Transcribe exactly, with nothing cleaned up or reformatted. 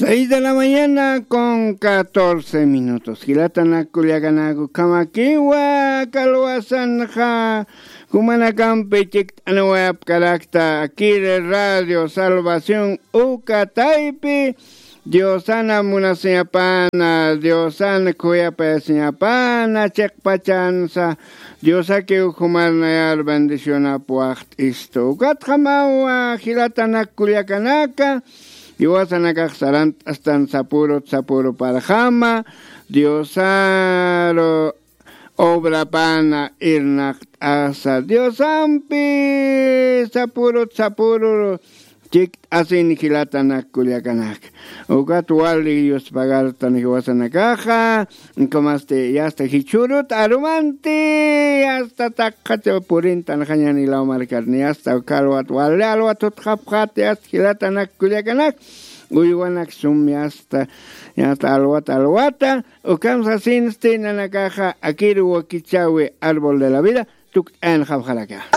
Seis de la mañana con catorce minutos. Jilatanak kullakanaku, kamakiwa kalwasanxa jumanakampi chikt'anwayapkarakta akiri Radio Salvación uka taypi. Diosana munasiñapana, Diosana khuyapayasiñapana chiqpachansa. Diosaki ukhumarnayar bendicionap waxt'istu. Ukatxamawa jilatanak kullakanaka, iwasanakax sarant'astan sapurut sapuru parxama. Diosaru obrapana irnaqt'asa, Diosampi sapurut sapuru chikt'asin jilatanak kullakanak. Ukat wali yuspagartan jiwasanakaxa, kamasti yasta jichhurut arumanti, yasta taqacha purintan jañani law markarni, yasta uka alwat wali alwat utqapxat, yasta jilatanak kullakanak. Uywanak sum yasta, yasta alwata alwata. Ukam sasinsti nanakaxa akiru wakichawi árbol de la vida tukt'ayan japxaraka.